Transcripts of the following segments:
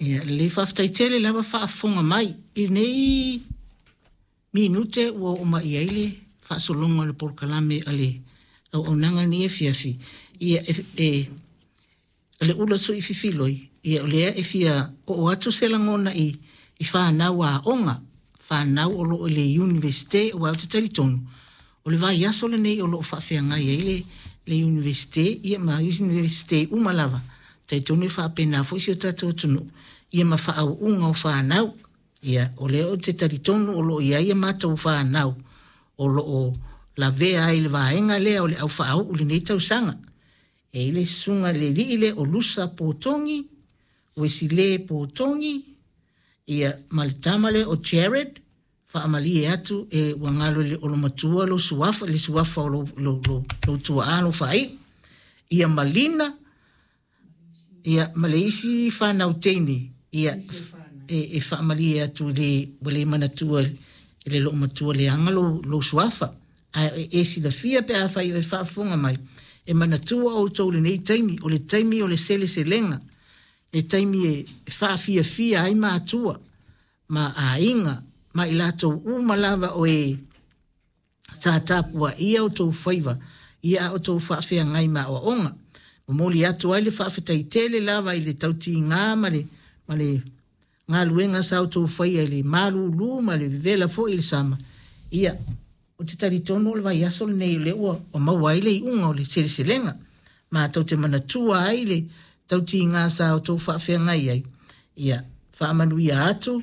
Ia, lelei faafetai tele lava faafofoga mai i lenei minute ua oo mai i ai le faasologa o le polokalame a le auaunaga lenei afiafi. Ia, e, e, le ula sui fifiloi, ia o lea e fia oo atu se lagona i, i whanau a onga, whanau o loo i le Universite, aua ou te talitonu, o le vaiaso lenei o loo faafeagai ai le, le Universite, ia ma Universite uma lava, talitonu e faapena foi si o tatou atunuu, ia ma faauuga o fanau. Ia, o lea ou te talitonu o loo i ai a matou fanau, o loo lavea ai le vaega lea o le au faauu lenei tausaga. E i le susuga i le alii lea o Lusa Potogi, Uesile Potogi, ia ma le tama lea o Jared, faamalie atu e ua galo i le olomatua lou suafa, le suafa o lou, lou, lou, lou tuaa lou faaiu. Ia Malina, ia ma le isi fanau teine, ia e, e faamalie atu i le, ua le manatua i le loomatua leaga lou, lou suafa. Ae e silafia pe afai o e faafofoga mai, e manatua outou lenei taimi, o le taimi o le seleselega, le taimi e faafiafia ai matua ma aiga ma i latou uma lava o e sa tapuaia outou faiva ia a outou faafeagai ma aoaoga. Momoli atu ai le faafetai tele lava i le tautiga ma le, ma le galuega sa outou faia i le malūlū ma le vevela foi i le sama. Ia, ou te talitonu o le vaiaso lenei o lea ua, ua maua ai le iuga o le seleselega. Matou te manatua ai le tautiga sa outou faafeagai ai. Ia, faamanuia atu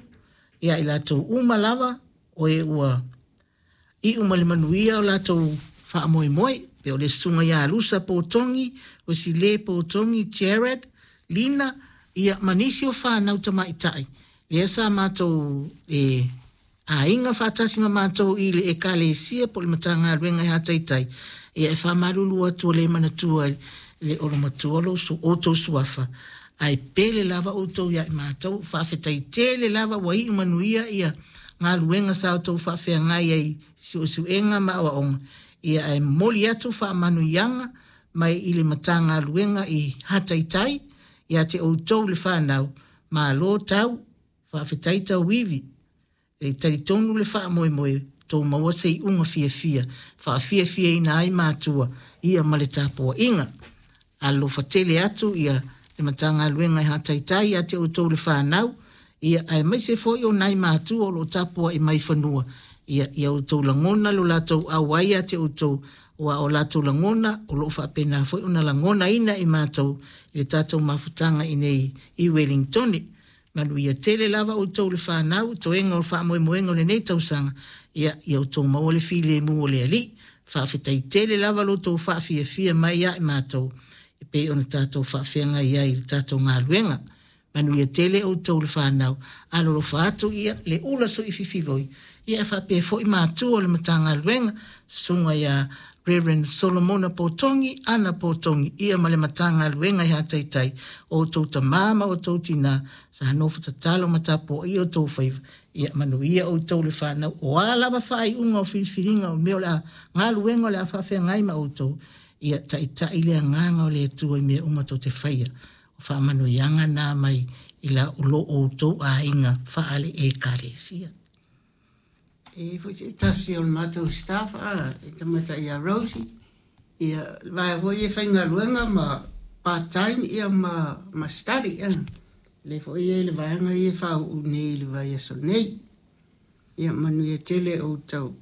ia i latou uma lava o e ua iu ma le manuia o latou faamoemoe. Pe o le susuga ia Lusa Potogi, Uesile Potogi, Jared, Lina, ia ma nisi o fanau tamaitai. Lea sa matou e aiga faatasi ma matou i le ekalesia po o le Matagaluega e Hataitai. Ia e faamalulu atu o le manatua i le olomatua lou su, outou suafa. Ae pele lava outou ia i matou, faafetai tele lava ua iu manuia ia galuega sa outou faafeagai ai suesuega ma aoaoga. Ia ae momoli atu faamanuiaga mai i le Matagaluega i Hataitai ia te outou le whanau, malo tau, faafetai tauivi, e talitonu le faamoemoe, tou maua se iuga fiafia, faafiafiaina ai matua, ia ma le tapuaiga. Alofa tele atu ia le Matagaluega e Hataitai ia te outou le whanau, ia aemaise foi o nai matua o loo tapuai mai fanua, ia ia outou lagona lo latou auai ia te outou, ua o latou lagona o loo faapena foi ona lagonaina i matou i le tatou mafutaga i nei i Wellington. Manuia tele lava outou le whanau, toega o le faamoemoega o lenei tausaga, ia ia outou maua le filemu o le Alii. Faafetai tele lava lo outou faafiafia mai ia i matou, e pei ona tatou faafeagai ai i le tatou galuega. Manuia tele outou le whanau, alolofa atu ia le ula sui fifiloi, ia e faapea foi matua o le Matagaluega, susuga ia Reverend Solomona Potogi, Ana Potogi, ia ma le Matagaluega i Hataitai, o outou tamā ma outou tinā, sa nofo tatalo ma tapuaia outou faiva, ia manuia outou le whanau, o a lava faaiuga o filifiliga o mea o le a galuega o le a faafeagai ma outou, ia taitai le agaga o le Atua i mea uma tou te faia. O faamanuiaga na mai i la o lo outou aiga faale ekalesia. E foi se tasi o le matou staff a e tamata ia Rosie ia vai foi e faigaluega ma part time ia ma ma study ia le foi e le vaega ia faauu nei i le vaiaso nei. Ia manuia tele outou.